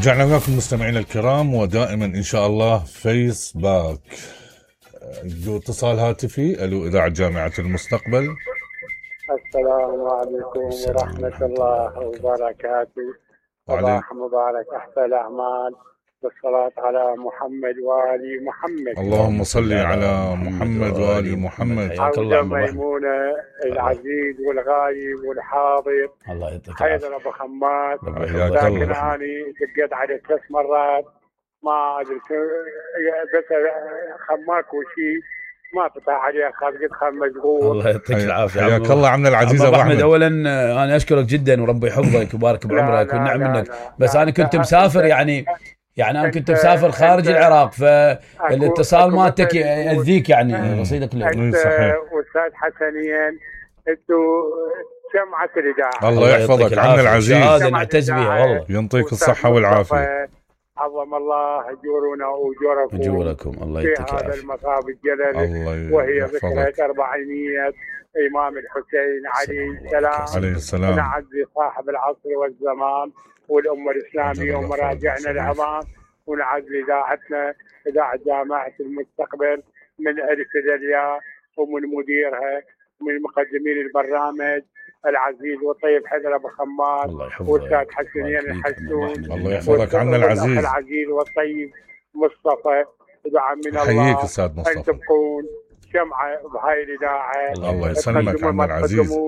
رجعنا لكم مستمعينا الكرام، ودائما إن شاء الله فيس باك. اتصال هاتفي. ألو، إذاعة جامعة المستقبل. السلام عليكم ورحمة الله وبركاته. صباح مبارك، أحسن الأعمال والصلاة على محمد وآل محمد. اللهم صل على محمد وآل محمد. عودة ميمونة العزيز والغايب والحاضر. الله يعطيك حيدر أبو خماس. لكن أنا دقيت عليه 3 مرات ما أدري، بس خماك وشي ما فتح عليه، قد خل مشغول. الله يعطيك العافيه. حياك الله عمنا العزيز ابو احمد. اولا انا اشكرك جدا وربي يحفظك ويبارك بعمرك والنعم منك. بس انا كنت مسافر، يعني انا كنت مسافر خارج العراق، فالاتصال مالتك يأذيك يعني رصيدك اللي صحيح. واستاذ حسنين انتوا جمعة الإذاعة. الله يحفظك عمنا العزيز، هذا نعتز بها والله. ينطيك الصحة والعافية. عظم الله اجورنا واجوركم الله يعطيك في هذا المصاب الجلل، وهي ذكرى 400 إمام الحسين عليه السلام. نعزي صاحب العصر والزمان والأمة الإسلامية ومراجعنا العظام، ونعزي إذاعتنا إذاعة جامعة المستقبل من ألف إلى الياء، ومن مديرها ومن مقدمين البرنامج العزيز والطيب حيدر أبو خماس والأستاذ حسنين الحسون. الله يحفظك عمنا العزيز والطيب مصطفى. دعاء من الله حييك أستاذ مصطفى أن تبقون شمعة بهاي الإذاعة. الله يسلمك عمنا العزيز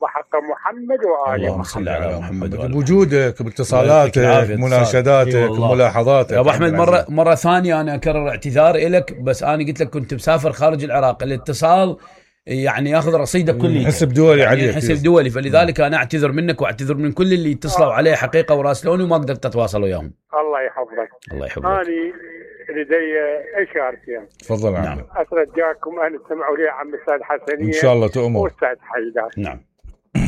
وحق محمد وآله. اللهم صل على محمد بوجودك باتصالاتك مناشداتك ملاحظاتك. يا ابو احمد، مره ثانيه انا اكرر اعتذاري لك، بس انا قلت لك كنت مسافر خارج العراق، الاتصال يعني ياخذ رصيدك كلي، حسب دولي يعني عليك، حسب دولي، فلذلك انا اعتذر منك واعتذر من كل اللي اتصلوا عليه حقيقه وراسلوني وما قدرت اتواصل وياهم. الله يحفظك. الله يحفظك. اني لدي اشارتين. تفضل عمي. نعم. اترجاكم ان تسمعوا لي عم الاستاذ حسنين ان شاء الله تؤمر. واستاذ حيدر. نعم.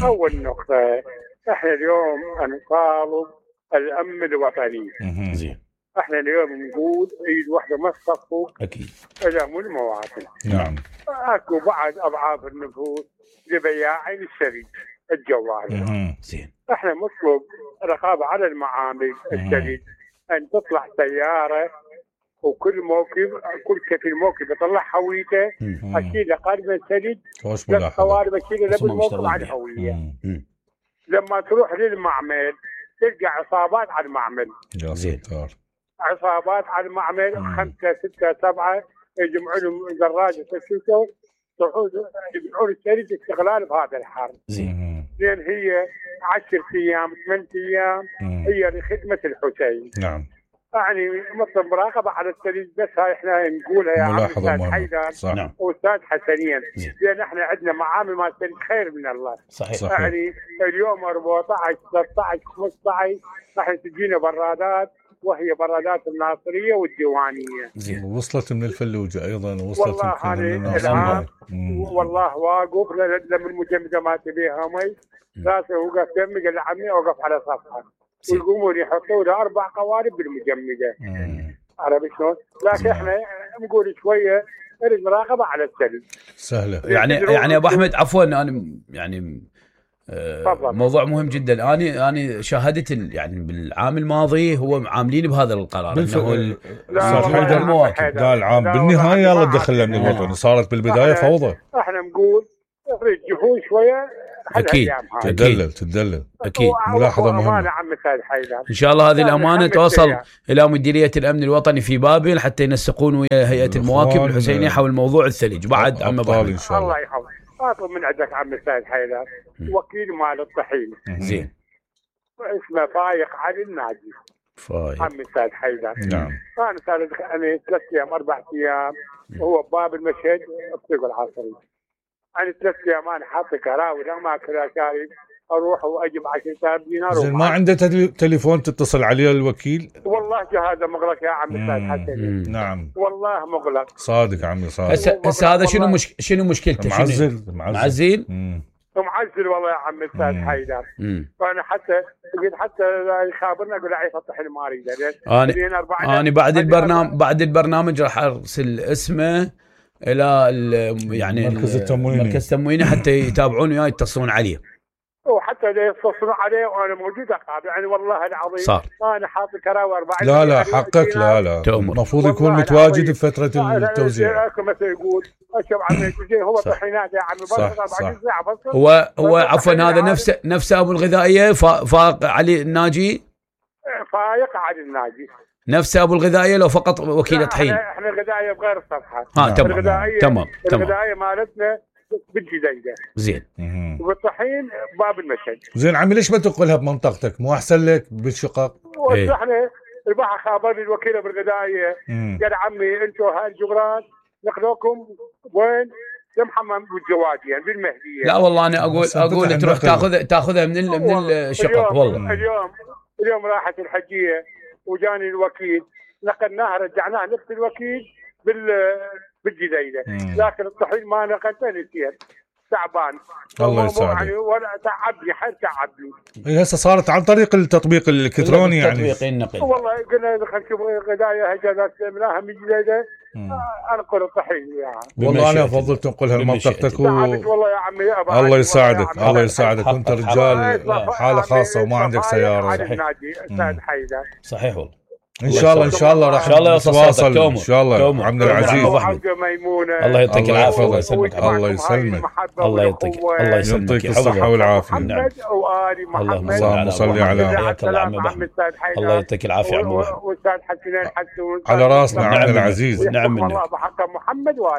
اول نقطه، احنا اليوم نطالب الامن الوطني. زين. احنا اليوم نقول ايد واحده ما تصفوا اكيد الامن المواطن. نعم. اكو بعض اضعاف النفوس لبياعين السريج الجوال. زين. احنا مطلوب رقابه على المعامل السريج، ان تطلع سياره وكل موكب، كل كفيل موكب يطلع هويته، اشيل قلب السريج للقوارب، اشيل له بالموكب على الهويه. لما تروح للمعمل تلقى عصابات على المعمل. زين. عصابات على المعمل 5 6 7 يجمعوا لهم دراجه تشوتوا صعود يبيعون السريج استغلال بهذا الحرب. زين. لان هي 10 ايام 8 ايام هي لخدمه الحسين. نعم. يعني مثل مراقبه على السريج، بس هاي احنا نقولها يا عم استاذ حيدر واستاذ حسنين، لان احنا عندنا معامل مع السريج خير من الله. صحيح. يعني اليوم 14 13 15 راح تجينا برادات، وهي برادات الناصريه والديوانيه. زين. وصلت من الفلوجه ايضا، وصلت والله الان والله واقف لما المجمده ما تبيها مي راسه وقف دمي، قال عمي اوقف على صفحه ويقومون يحطوا له 4 قوارب بالمجمده. عرفت شلون؟ لكن احنا نقول شويه نريد مراقبه على السريج سهله. يعني ابو احمد عفوا، انا يعني موضوع مهم جدا. انا شاهدت يعني بالعام الماضي هو عاملين بهذا القرار انه حيدر المواكب قال عام بالنهايه يلا دخلنا من الوطن. صارت بالبدايه فوضى. احنا نقول رجعون شويه. اكيد تدلل اكيد. ملاحظه مهمه. ان شاء الله هذه الامانه توصل الى مديريه الامن الوطني في بابل حتى ينسقون ويا هيئه المواكب الحسينيه حول موضوع الثلج. بعد عم ابو ان شاء الله يحفظك. اطلب من عندك عم السيد حيدر وكيل مال الطحين. زين. اسمه فايق علي الناجي. فايق عم السيد حيدر. نعم. انا صار انا 3 ايام 4 ايام وهو باب المشهد بطريق العصري. انا 3 ايام انا حاط كراوي ما كذا شارب، اروح واجيب 10,000 دينار. زين. ما عنده تليفون تتصل عليه الوكيل؟ والله جهازه مغلق يا عم السيد حسن. نعم والله مغلق. صادق عمي صادق. هسه هذا شنو مشكلته؟ معزل معزل والله يا عم السيد حيدر. فانا حتى يخابرنا اقول له يفتح الماري. انا بعد البرنامج راح ارسل اسمه الى يعني مركز التمويني حتى يتابعون وياه يتصلون عليه. وحتى يتصلوا عليه وانا موجود اقابل يعني والله العظيم صار انا حاط كراوي 40. لا حقك لا المفروض يكون متواجد بفتره التوزيع. مثل يقول اشوف عمي هو طحينات يا عمي بس 24 ساعه بس. هو عفوا هذا نفس ابو الغذائيه فاق علي الناجي. فايق علي الناجي نفس ابو الغذائيه لو فقط وكيل طحين. احنا الغذائيه بغير الصفحه. تمام. الغذائيه مالتنا بالجديده زين. والطحين باب المشهد. زين عمي ليش ما تنقلها بمنطقتك؟ مو احسن لك بالشقق؟ احنا البحر خابرني الوكيله بالغذائيه قال عمي انتم هاي الجغرات نقلوكم وين؟ لمحمد بالجوادي يعني بالمهديه. لا والله انا اقول تروح تاخذها من الشقق. والله اليوم راحت الحجيه وجاني الوكيل نقلناها رجعناها نفس الوكيل بالجديده لكن الطحين ما نقلته نسيت تعبان. الله يساعدك. يعني ولا تعبني حيل تعبني. هسه صارت عن طريق التطبيق الالكتروني يعني. والله قلنا خلينا نشوف غدايا هجرات منها من جديده انقل الطحين يعني. والله انا افضل تنقلها لمنطقتك والله يا عمي الله يساعدك الله يساعدك. وانت رجال حاله خاصه وما عندك سياره. صحيح والله. ان شاء الله راح نتواصل ان شاء الله. عبد العزيز الله يعطيك العافيه. الله يسلمك. الله يسلمك. الله يسلمك. الصحه والعافيه. اللهم صل على الله يعطيك العافيه عمو على راسنا عبد العزيز. نعم منك.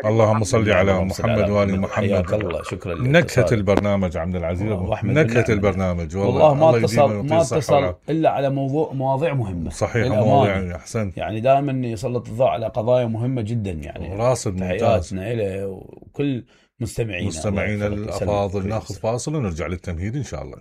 اللهم صل على محمد وال محمد. الله شكرا لك. نكهه البرنامج عبد العزيز. نكهه البرنامج والله ما اتصل الا على مواضيع مهمه. صحيح مواضيع احسنت يعني دائما يسلط الضوء على قضايا مهمه جدا يعني. راسب ممتاز. تحياتنا له وكل مستمعينا الافاضل. ناخذ فاصل ونرجع للتمهيد ان شاء الله.